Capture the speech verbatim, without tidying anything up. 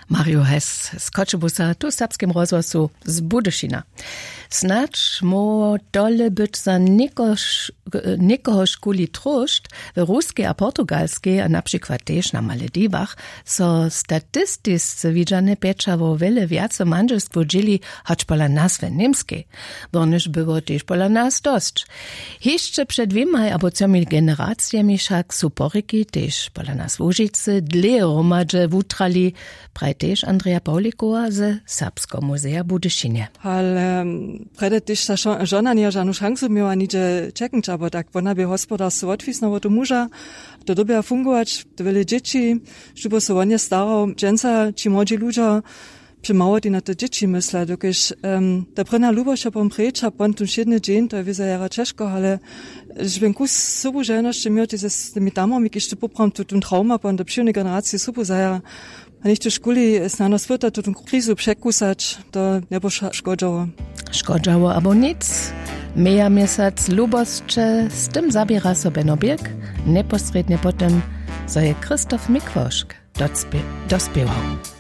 Mario Hess z Choćebuza tu w Serbskim rozhłosu z Budyšina. Snadź móhło tole być za někohožkuli tróšt. W Ruskej a Portugalskej a na přikład tež na Malediwach so statistisce widźane pjećało wjele wjace mandźelstwow dźěli, hač pola nas w Němskej. Bornyž było tež pola nas dosć. Hišće před dwěmaj abo třomi generacijemi wšak su porěki tež pola nas w Łužicy dlěje hromadźe wutrali, praji tež Andreja Pawlikowa ze Serbskeho muzeja w Budyšinje. Ale prjedy tež ta žona njeje žanu šansu měła nihdźe ćeknyć abo tak, wona bě hospodarstwo wotwisna wot tu muža, to dyrbja fungować, to wjele dźěći, štóby so wonje starał dźensa ći młodźi ludźo, při małotej na te dźěći mysla dokelž ta prěnja lubosć a pom prěča pon tón wšědny dźeń to je wězo jara ćežko ale žbjenku sobu želnosće měł ty z tymi tamami kiž ty poprawom tu tón trauma pon do přiwnej generaciji sobu zajara. A něchto škuli snano spyta tu tón krizu překusać to njebuša škodźało. Škodźało abo nic. Meja měsac lubosće z tym zaběra so beno birk. Njeposrědnje po tym zo je christoph mikłošk dospěwał.